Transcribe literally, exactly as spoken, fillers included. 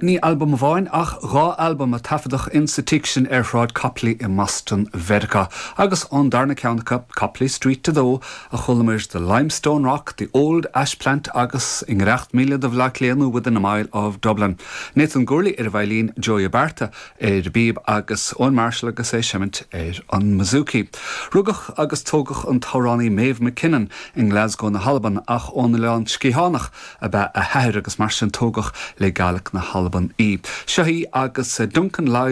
Ní albam amháin ach dhá albam a taifeadadh in sa tigh sin ar Shráid Copley i mBoston Mheiriceá, agus ón darna ceann acu Copley Street a dó a chualamar The Limestone Rock, The Old Ash Plant agus i ngiorracht míle do Bhaile Átha Cliath nó within a mile of Dublin. Nathan Gourley ar veidhlín Joey Abarta ar bpíob agus Owen Marshall agus é ag seimint ar an mbouzouki. Rugadh agus tógadh an t-amhránaí Maeve MacKinnon in Glasgow na hAlban ach ón Oileán Sgitheanach ab ea a hathair agus mar sin tógadh le Gàidhlig na hAlban í. Seo í agus Duncan Lyle